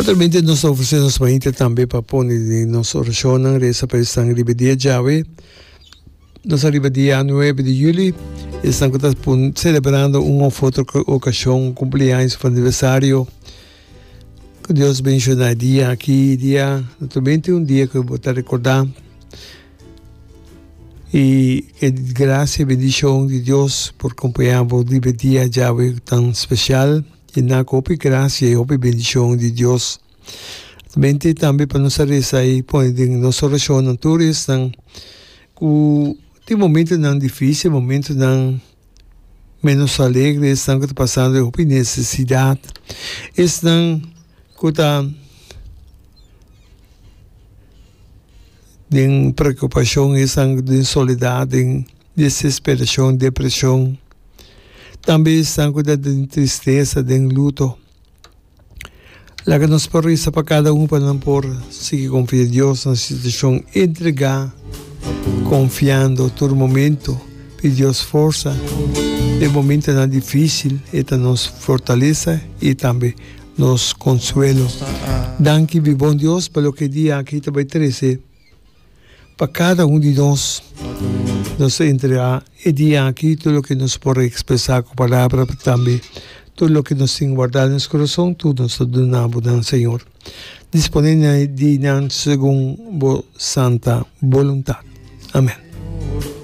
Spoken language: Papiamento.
Naturalmente nos ta ofresé nos mainta tambe pa pone den nos orashonnan, resa pa esnan riba e dia djawe. Nos a riba dia nuebe di juli, esnan ku ta selebrando un òf otro okashon, kumpleaños òf aniversario. Ku Dios benshoná e dia aki, e dia naturalmente un dia ku bo ta rekordá i e grasia i bendishon di Dios por kompañá bo riba e dia djawe tan spesial. Yená ku hopi grasia i hopi bendishon di Dios. Mente tambe pa nos a resa i pone den nos orashonnan tur esnan ku tin momentonan difísil, momentonan ménos alegre, esnan ku ta pasando hopi nesesidat, esnan ku ta den preokupashon, esnan den soledat, den desesperashon, depreshon, tambe esnan ku ta den tristesa, den luto. Laga nos por resa pa kada un pa nan por sigui konfia Dios na situashon entregá, konfiando tur momento. Pidi Dios forsa den momentonan difísil, e ta nos fortalesa i tambe nos konsuelo. Danki mi bon Dios pa loke e dia aki ta bai trese. Pa kada un di nos, nos ta entregá e dia aki tur loke nos por ekspresá ku palabra, pero tambe tur loke nos tin wardá den nos kurason, tur nos ta duna bo nan, Señor. Disponé di nan segun bo santa boluntat. Amèn.